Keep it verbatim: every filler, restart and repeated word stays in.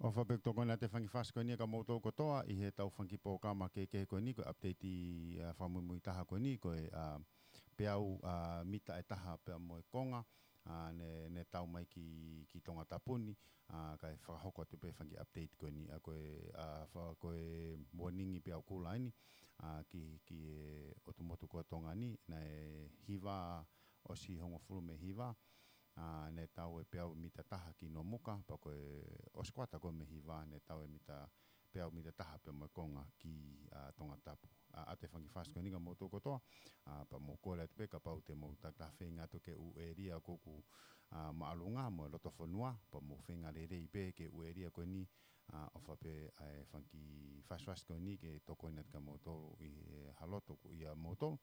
ʻOfa pē ʻoku tokoni atu e fanga kiʻi fasi ko eni kia moutolu kotoa ʻi heʻetau fanga kiʻi polokalama kehekehe ko eni, ko e update ʻa e fakamuimui taha ko eni, ko e, ʻa, peau, ʻa, mita ʻe taha pea mo e konga, ʻa, ne, ne tau mai ki, ki Tongatapu ni, ʻa, kae fakahoko atu pē fanga kiʻi update ko eni, ʻa, ko e, ʻa, fa-, ko e warning peau kula eni, ʻa, ki, ki he ʻotu motu ko Tonga ni, naʻe hiva ʻosi hongofulu mei he hiva, ʻa, ne tau e peau mita taha ki Nomuka, pea ko e ʻosi kuata ko ē mei he hiva, ne tau e mita, peau mita taha pea mo e konga ki, ʻa, Tongatapu. ʻA, ʻoatu e fanga kiʻi fasi ko eni kia moutolu kotoa, ʻa, pea mou kole atu pē kapau te mou takitaha feinga atu ki he ʻū ʻēlia ʻoku, ʻa, māʻolunga mo e loto fonua, pea mou feinga lelei pē ki he ʻū ʻēlia ko eni, ʻa, ʻofa pē ʻa e fanga kiʻi fasi fasi ko eni ke tokoni atu kia moutolu ʻi he ʻaho ni ʻoku ʻia moutolu.